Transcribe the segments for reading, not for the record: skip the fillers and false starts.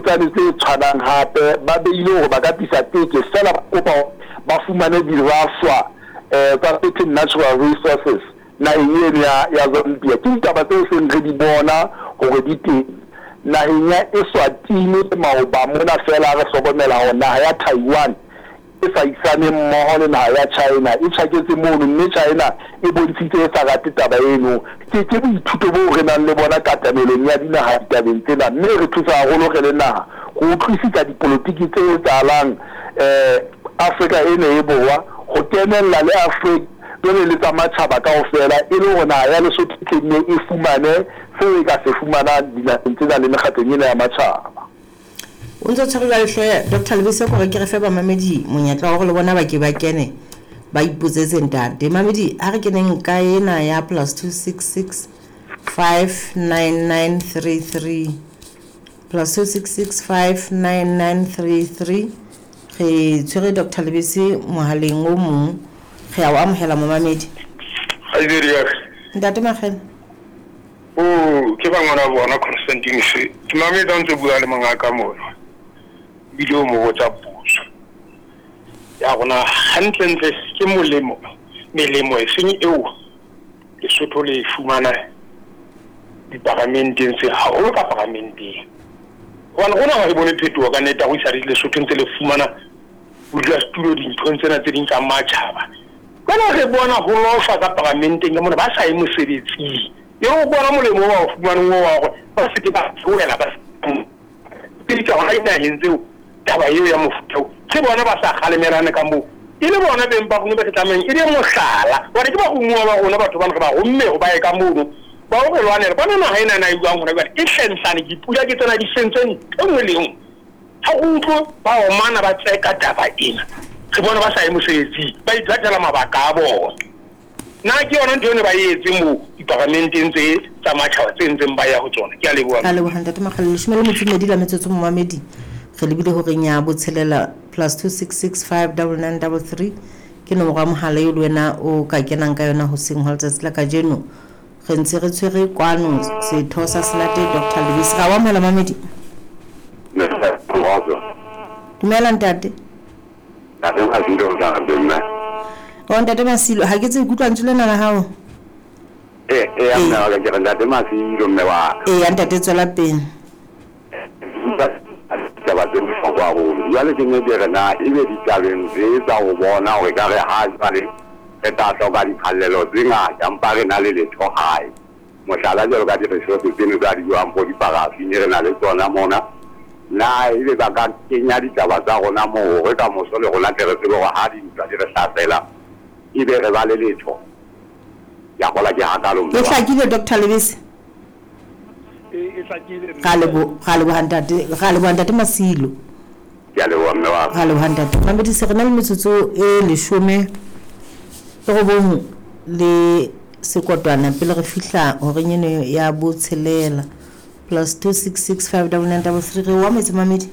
tsane tse tshwanang hape ba beile hore ba ka tlisa teke feela ba kopa hore ba fumane dirafshwa tsa certain natural resources naheng eno ya ya Zambia. Ke ditaba tseo seng re di bona hore di teng. Naheng ya Eswatini maoba mona feela re hlokomela hore naha ya Taiwan e sa isaneng mmoho le naha ya China e tjhaketse mono mme China e bontshitse e sa rate taba eno. Ke ke boithuto boo re nang le bona katamelong ya dinaha ditabeng tsena mme e re thusa haholo re le naha ho utlwisisa dipolotiki tse etsahalang Afrika eno e Borwa ho kenella le Afrika jwale le tsa matjhaba kaofela e le hore naha ya Lesotho e tle nne e fumane seo e ka se fumanang dinaheng tsena le mekgatlong ena ya matjhaba. O ntse o tshwere jwale hle Doctor Lebese kore ke re fe bamamedi monyetla wa hore le bona ba ke ba kene ba ipotsetse ntate. Mamedi ha re keneng ka ena ya plus 266 59933 plus 266 59933 re tshwere Doctor Lebese mohaleng o mong re a o amohela momamedi. Kgaitsedi ya ka. Ntate Makgele. Oh, ke ba ngwana bona Constantine se. Ke mametse ha ntse bua le mongaka mona. Ebile o mo botsa potso. Ya rona hantlentle ke molemo melemo e seng eo Lesotho le e fumana diparamenteng tse haholo ka paramenteng. Hobane rona ha re bone phetoho ka nnete ha go isa Lesotho ntse le fumana bodulasetulo dinthong tsena tse ding tsa matjhaba. Jwale re bona ho loshwa ka paramenteng ka mona ba sa ye mosebetsing. E re o bona molemo o ba o fumaneng oo wa hore ba se ke ba theohela ba sebedisa hona dinaheng tseo taba eo ya mofuta oo. Ke bona ba sa kgalemelane ka moo. E le bona beng ba rona ba re tlamehang e be mohlala. Hobane ke baromuwa ba rona batho bana re ba romme hore ba ye ka mono ba o re lwanela. Bona naha ena na e buang hona jwale e hlenhlane dipula ke tsena di sentse ntho e nngwe le e nngwe. Ha re utlwe ba omana ba tseka taba ena. Re bona ba sa ye mosebetsing ba iphathela mabaka a bona. Na ke yona ntho eno ba e etse moo diparamenteng tse tsa matjhaba tse ntseng ba ya ho tsona? Ke a leboha. Ka leboha Ntate Makgale. Leshome le metso e mmedi la metsotso momamedi. Re lebile horeng ya botshelela plus 266 59933 ke nomoro ya mohala eo le wena o ka kenang ka yona hoseng hwa letsatsi la kajeno. Re ntse re tshwere kwano setho sa Senate Doctor Lebese. Ra o amohela mamedi. Dumela ntate. Ntate Masilo o tla re mme. O ntate Masilo, ha ke tsebe ke utlwa lentswe lena la hao. Eh, eh, mme wa ka ke re ntate Masilo mme wa ka. Eya ntate tswela pele. Ditaba tse bohlokwa haholo. Jwale ke ne ke re na ebe ditabeng tse tsa ho bona hore ka re ha jwale re tla hloka diphallelo tse ngata empa re na le letho hae. Mohlala jwalo ka di-resource tseno tsa di jwang bo diparafini re na le tsona mona. Na ebe ba ka kenya ditaba tsa rona moo hore ka moso le rona tle re tsebe hore ha dintwa di re hlasela ebe re ba le letho? Ke a kgolwa ke hakalo mme E wa ka. hlakile Doctor Lebese? E hlakile Ra mme. lebo ra leboha ntate, ra leboha ntate Masilo. Ke a leboha mme wa ka. Ra leboha ntate. Mamedi se re na le metsotso e leshome le robong le sekotwana pele re fihla horeng eno ya botshelela. Plus 266 59933 re o ametse mamedi.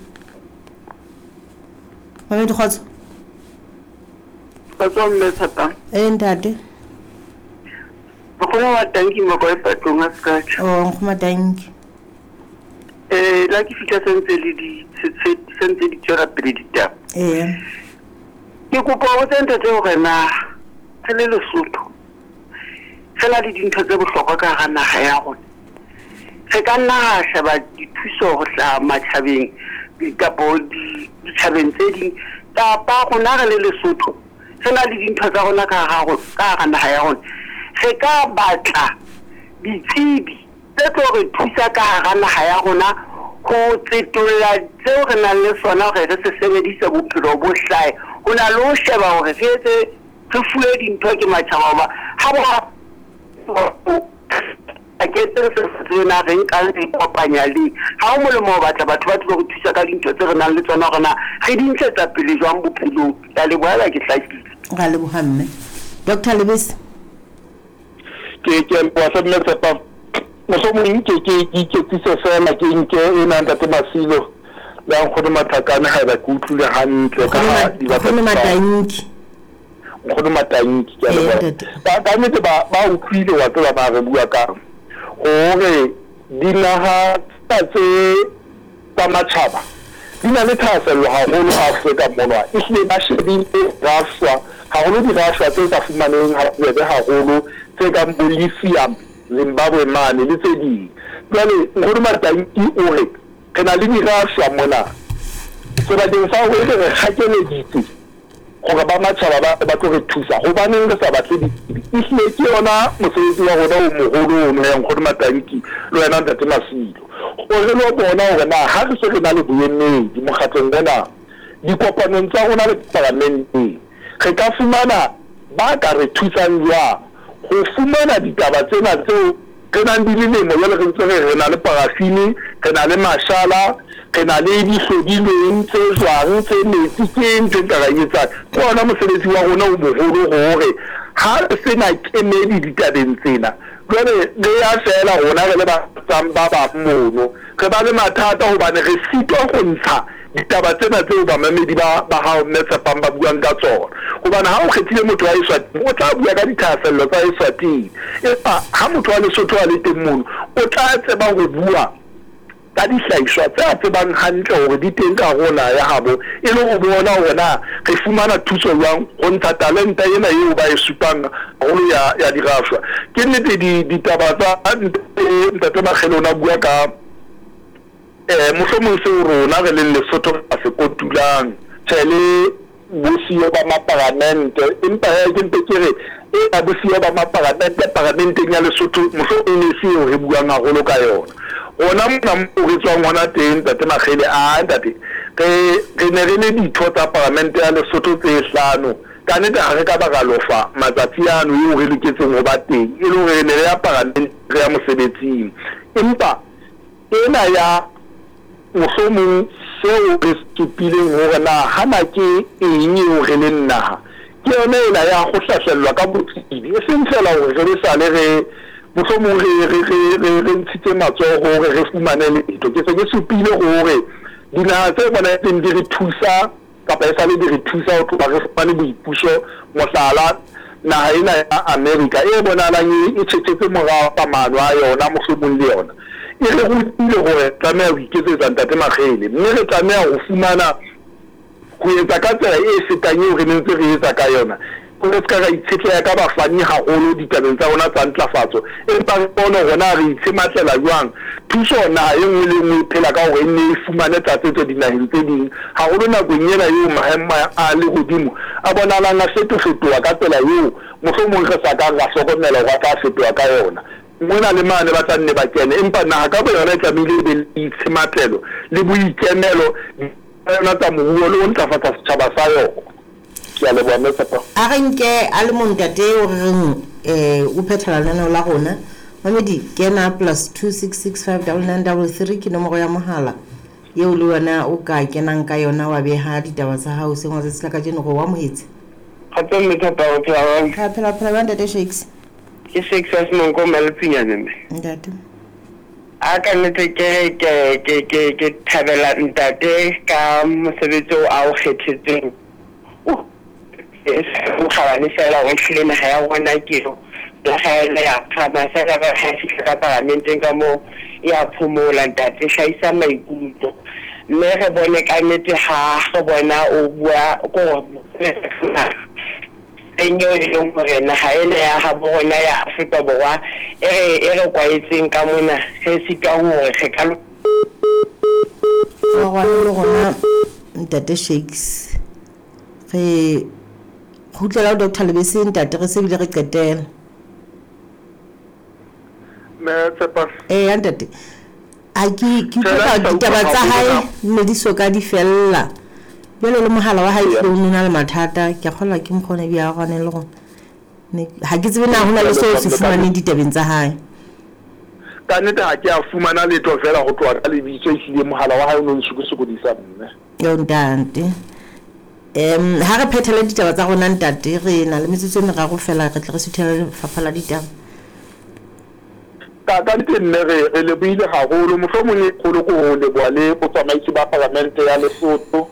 Mamedi kgotso. Kgotso mme Tshepang. Eh ntate. Nkgono wa tanki moko e patlong a sekatjha. Oh nkgoma tanki. Eh la ke fihla sentse le di sentse di tswela pele ditaba. Ee. Ke kopa ho botsa ntate hore na re le Lesotho re na le dintho tse bohlokwa ka hara naha ya rona. Re ka nna ra sheba dithuso ho hlaha matjhabeng kapo ditjhabeng tse ding kapa rona re le Lesotho re na le dintho tsa rona ka hara ka hara naha ya rona. Re ka batla ditsebi tse tlo re thusa ka hara naha ya rona ho tsetolla tseo re nang le sona hore re se sebedise bophelo bo hlahe. Ho na le ho sheba hore re etse re fuwe dintho ke matjhaba hoba ha ba ke tse re sa tsebe na re nkang re ikopanya le ha ho molemo ho batla batho ba tlilo re thusa ka dintho tse re nang le tsona hore na re di ntshetsa pele jwang bophelong. Ke a leboha haeba ke hlakile. Ra leboha mme. Doctor Lebese. Ke ke a leboha hle mme Tshepa. Mohlomong ke ke ke iketsise feela ke nke ena ntate Masilo le a nkgono Matlakane haeba ke utlwile hantle ka ha di batla Nkgono Matanki. Nkgono Matanki ke a Ee leboha. ntate. Ka ka nnete ba ba utlwile wa tseba ba re bua kang hore dinaha tsena tse tsa matjhaba di na le thahasello haholo Afrika mona. Ehlile ba shebile rafshwa, haholo dirafshwa tse sa fumaneheng ha bobebe haholo, tse kang bo lithium Zimbabwe mane le tse ding. Jwale Nkgono Matanki o re re na le dirafshwa mona sebakeng sa hore ebe re kgakeleditse hore ba matjhaba ba ba tlo re thusa, hobaneng re sa batle ditsebi? Ehlile ke yona mosebetsi wa rona o moholo ono ya Nkgono Matanki le wena Ntate Masilo, hore re lo bona hore na ha re se re na le boemedi mokgatlong ona, dikopanong tsa rona le paramenteng, re ka fumana ba ka re thusang jwang ho fumana ditaba tsena tseo re nang di lelemo jwale re ntse re re na le parafini, re na le mashala, re na le dihlodilweng tse jwang tse metsi, ke eng ntho e nka ra e etsang? Ke ona mosebetsi wa rona o moholo hore ha re se na kemedi ditabeng tsena, jwale re ya feela rona re le ba tsang ba bang mono, re ba le mathata hobane re sitwa ho ntsha ditaba tsena tseo bamamedi ba ba hao Mme Tshepang ba buang ka tsona. Hobane ha o kgethile motho wa Eswatini, o tla bua ka dithahasello tsa Eswatini. Empa ha motho wa Lesotho a le teng mono, o tla tseba ho bua ka dihlahiswa tse a tsebang hantle hore di teng ka hare ho naha ya habo, e le ho bona hore na re fumana thuso jwang ho ntsha talenta ena eo ba e supang haholo ya ya dirafshwa. Ke nnete di ditaba tsa Ntate Makgele o ne a bua ka Mohlomong seo rona re leng Lesotho re ka se kotulang, tjhe le bosiyo ba maparamente, empa hee ke mpe ke re ena bosiyo ba maparamente paramenteng ya Lesotho mohlomong e ne e se eo re buang haholo ka yona. Rona mona moo re tswang hona teng Ntate Makgele, aa ntate, re re ne re le ditho tsa paramente ya Lesotho tse hlano, ka nnete ha re ka ba ra lofa matsatsi ano eo re loketseng ho ba teng, e le hore re ne re ya paramenteng re ya mosebetsing. Empa Ena ya mohlomong seo re supileng hore na hana ke eng eo re leng naha, ke yona ena ya ho hlahlellwa ka botsebi, e seng feela hore re be sale re mohlomong re, re, re, re, re ntshitse matsoho hore re fumane letho. Ke se ke supile hore dinaha tse bonahetseng di re thusa kapa esale di re thusa ho tloha re fumane boipuso, mohlala, naha ena ya Amerika e bonahalang e, e tjhetjhetse morao ka maano a yona, mohlomong le yona e re rutile hore re tlameha ho iketsetsa, Ntate Makgele, mme re tlameha ho fumana ho etsa ka tsela e fetang eo re neng ntse re etsa ka yona. Re se ka ra itshetleha ka bafani haholo ditabeng tsa rona tsa ntlafatso, empa re bone hore na re itshematlela jwang thuso. Naha e nngwe le e nngwe e phela ka hore e nne e fumane tlatsetso dinaheng tse ding, haholo nakong ena eo maemo a lehodimo a bonahalang a fetofetoha ka tsela eo mohlomong re sa kang ra hlokomela hore a tla fetoha ka yona. Mona le mane ba tla nne ba kene, empa naha ka boyona e tlamehile e be le boitshematlelo le boikemelo tsa yona tsa moruo le ho ntlafatsa setjhaba sa yona. Ke a leboha Mme Tshepo. A re nke a le mong ntate eo re reng o phethela lenaneo la rona. Mamedi, kena +26659933 ke nomoro ya mohala eo le wena o ka kenang ka yona wa beha ditaba tsa hao seng wa tsatsi la kajeno re o amohetse. Kgotso mme Thata, o phela jwang? Re a phela, phela jwang ntate Shakes? Ke Shakes wa Semonko Maletsinyane mme. Ntate. A ka nnete ke re ke ke ke ke thabela ntate ka mosebetsi oo a o kgethetseng. O kgabane fela hore ehlile naha ya rona ke eo. Naha ena ya phahama fela ba ha e fihla ka paramenteng ka moo e a phomola ntate, hlahisa maikutlo. Mme re bone ka nnete ha re bona o bua ko teng eo e leng hore naha ena ya habo rona ya Afrika Borwa e re e re kwaetseng ka mona re sitwang hore re ka Rwane le rona ntate Shakes re kgutlela ho Doctor Lebese ntate re se bile re qetela. Mme Tshepa. Eya ntate. A ke ke utlwa ditaba tsa hae ne di so ka di fella. Jwale le mohala wa hae o ne na le mathata, ke a kgolwa ke mokgwa o ne bia rwane le rona. Ha ke tsebe na ho na le seo se fumaneng ditabeng tsa hae. Ka nnete ha ke a fumana letho feela ho tloha ka lebitso, ehlile mohala wa hae o no nsokosokodisa mme. Yo ntate. Ha re phethele ditaba tsa rona ntate, re na le metsotso e meraro feela re tle re suthele lefapha la ditaba. Ka ka nnete mme re re lebohile haholo, mohlomong e kgolo ke ho leboha le botsamaisi ba Palamente ya Lesotho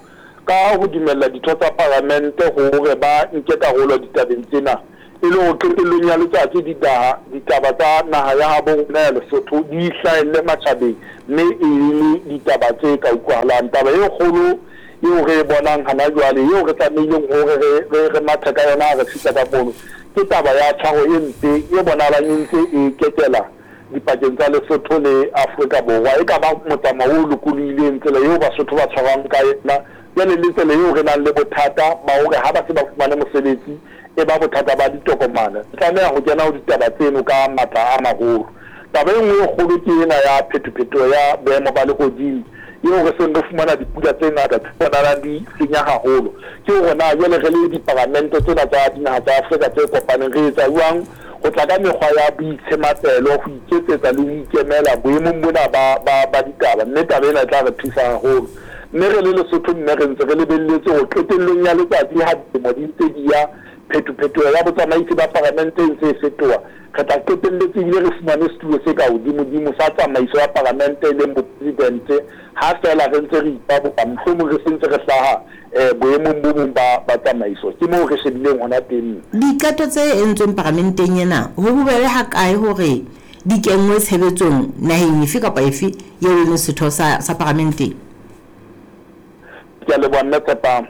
ka ho dumella ditho tsa Palamente hore ba nke karolo ditabeng tsena. E le hore qetellong ya letsatsi ditaha, ditaba tsa naha ya habo rona ya Lesotho di hlahelle matjhabeng mme e le ditaba tse ka utlwahalang. Taba e kgolo eo re e bonang hana jwale, eo re tlamehileng hore re, re, re mathe ka yona ha re fihla ka mono, ke taba ya tshwaro e mpe e bonahalang e ntse e kekela dipakeng tsa Lesotho le Afrika Borwa. E ka ba motsamao o lokolohileng, tsela eo Basotho ba tshwarwang ka yona jwale le tsela eo re nang le bothata ba hore ha ba se ba fumane mosebetsi e ba bothata ba ditokomane. Re tlameha ho kena ho ditaba tseno ka matla a maholo. Taba e nngwe e kgolo ke ena ya phetophetoho ya boemo ba lehodimo eo re seng re fumana dipula tse ngata tse bonahalang di senya haholo. Ke hore na jwale re le diparamente tsena tsa dinaha tsa Afrika tse kopaneng re etsa jwang ho tla ka mekgwa ya boitshematelo, ho iketsetsa le ho ikemela boemong bona ba, ba, ba ditaba, mme taba ena e tla re thusa haholo. Mme re le Lesotho mme re ntse re lebelletse hore qetellong ya letsatsi ha dilemo di ntse di ya, phetophetoho ya botsamaisi ba paramente e ntse e fetoha, re tla qetelletse ebile re fumane setulo se ka hodimodimo sa tsamaiso ya paramente e leng bopresidente ha feela re ntse re ipabola, mohlomong re se ntse re hlaha boemong bo bong ba, ba tsamaiso. Ke moo re shebileng hona teng. Diqeto tse entsweng paramenteng ena, ho bobebe hakae hore di kenngwe tshebetsong naheng efe kapa efe eo e leng setho sa, sa paramenteng? Ke a leboha Mme Tshepang.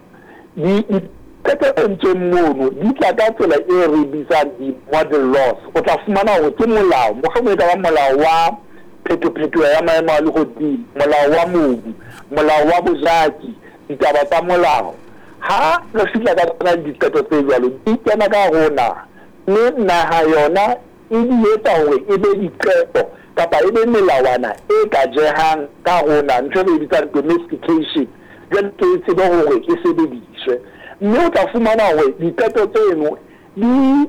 Di, diqeto tse entsweng mono di tla ka tsela e re bitsang di-model laws. O tla fumana hore ke molao, mohlomong e ka ba molao wa phetophetoho ya maemo a lehodimo, molao wa mobu, molao wa bojaki, ditaba tsa molao. Ha re fihla ka tsona diqeto tse jwalo, di kena ka hare ho naha, mme naha yona e di etsa hore e be diqeto kapa e be melawana e ka jehang ka hare ho naha, ntho e re e bitsang domestication, jwale ke e tsebe hore e sebediswe. Mme o tla fumana hore diqeto tseno di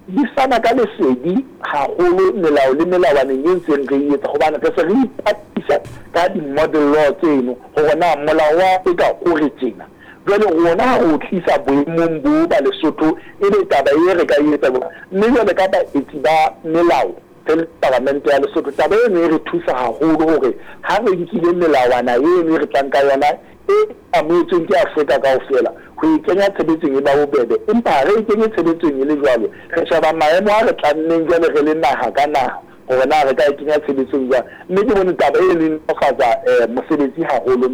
di fana ka lesedi haholo melao le melawaneng e ntseng re e etsa, hobane re se re ipapisa ka di-model law tseno hore na molao wa Afrika o re tjena. Jwale rona ha re o tlisa boemong bo ba Lesotho, ebe taba e re ka e etsa jwang? Mme jwale ka baetsi ba melao re le Paramente ya Lesotho, taba eno e re thusa haholo hore ha re nkile melawana eno e re tlang ka yona e amohetsweng ke Afrika kaofela, ho e kenya tshebetsong e ba bobebe. Empa ha re e kenye tshebetsong e le jwalo, re sheba maemo a re tlammeng jwale re le naha ka naha hore na re ka e kenya tshebetsong jwang. Mme ke bone taba eno e nolofatsa mosebetsi haholo.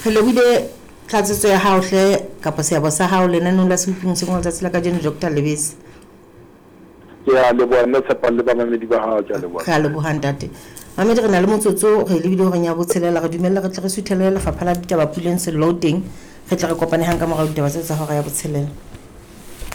Re lebohile tlatsetso ya hao hle kapa seabo sa hao lenaneong la Sehoping Hoseng wa letsatsi la kajeno, Doctor Lebese. Ke a leboha mme Tshepang le bamamedi ba hao, ke a leboha. Re a leboha ntate. Mamedi re na le motsotso re lebile horeng ya botshelela, re dumelle re tle re suthele lefapha la ditaba Puleng Sello teng, re tle re kopane hang ka morao ditaba tse tsa hora ya botshelela.